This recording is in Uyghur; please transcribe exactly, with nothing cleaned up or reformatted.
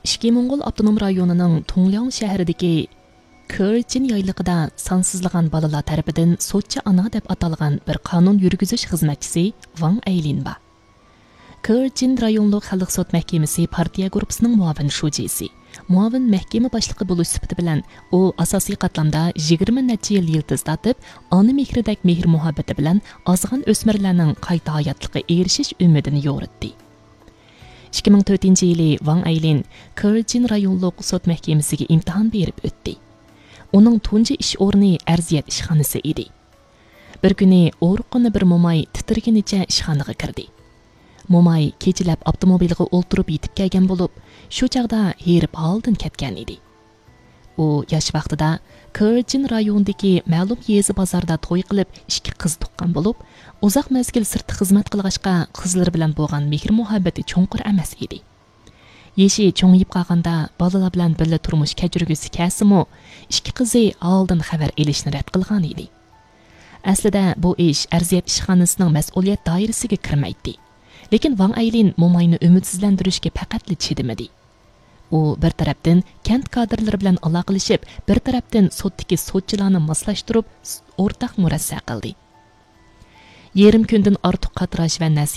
ئىچكى موڭغۇل ئاپتونوم رايونىنىڭ تۇڭلياڭ شەھىرىدىكى كېرچىن يايلىقىدا سانسىزلىغان بالىلار تەرىپىدىن سوتچى ئانا دەپ ئاتالغان بىر قانۇن يۈرگۈزۈش خىزمەتچىسى ۋاڭ ئەيلىن بار. كېرچىن رايونلۇق خەلق سوت مەھكىمىسى پارتىيە گۇرۇپپىسىنىڭ مۇئاۋىن شۇجىسى، مۇئاۋىن مەھكىمە باشلىقى بولۇش سۈپىتى بىلەن ئۇ ئاساسىي قاتلامدا يىگىرمە نەچچە يىل يىلتىز تارتىپ، ئانا مېھرىدەك مېھىر مۇھەببىتى بىلەن ئازغان ئۆسمۈرلەرنىڭ قايتا ھاياتلىققا ئېرىشىش ئۈمىدىنى يورۇتتى. ئىككى مىڭ تۆتىنچى يىلى ۋاڭ ئەيلىن كېرچىن رايونلۇق سوت مەھكىمىسىگە ئىمتىھان بېرىپ ئۆتتى. ئۇنىڭ تۇنجى ئىش ئورنى ئەرزىيەت ئىشخانىسى ئىدى. بىر كۈنى ئورۇققىنە بىر موماي تىتىرىگىنىچە ئىشخانىغا كىردى. موماي كېچىلەپ ئاپتوموبىلغا ئولتۇرۇپ يېتىپ كەلگەن بولۇپ، شۇ چاغدا ھېرىپ ھالدىن كەتكەن ئىدى. ئۇ ياش ۋاقتىدا كېرچىن رايونىدىكى مەلۇم يېزا بازاردا توي قىلىپ، ئىككى قىز تۇغقان بولۇپ، ئۇزاق مەزگىل سىرتتا خىزمەت قىلغاچقا، قىزلىرى بىلەن بولغان مېھىر مۇھەببىتى چوڭقۇر ئەمەس ئىدى. يېشى چوڭىيىپ قالغاندا بالىلار بىلەن بىللە تۇرمۇش كەچۈرگۈسى كەلسىمۇ، ئىككى قىزى ھالدىن خەۋەر ئېلىشنى رەت قىلغان ئىدى. ئەسلىدە بۇ ئىش ئەرزىيەت ئىشخانىسىنىڭ مەسئۇلىيەت دائىرىسىگە كىرمەيتتى. لېكىن ۋاڭ ئەيلىن موماينى ئۈمىدسىزلەندۈرۈشكە پەقەتلا چىدىمىدى. ئۇ بىر تەرەپتىن كەنت كادىرلىرى بىلەن ئالاقىلىشىپ، بىر تەرەپتىن سوتتىكى سوتچىلارنى ماسلاشتۇرۇپ، ئورتاق مۇرەسسە قىلدى. يېرىم كۈندىن ئارتۇق قاتراش ۋە نەسىھەت